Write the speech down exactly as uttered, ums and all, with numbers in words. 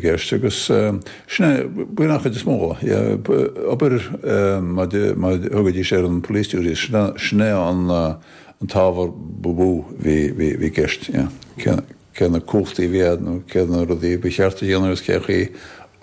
gceist agus sin é b'in an chuid is mó obair mar a thugaidís ar an police duties sin é an an t-ábhar ba mhó bhí bhí gceist cé na cumhachtaí a bhí nó cé na rudaí ba cheart a dhéanamh agus cé chaoi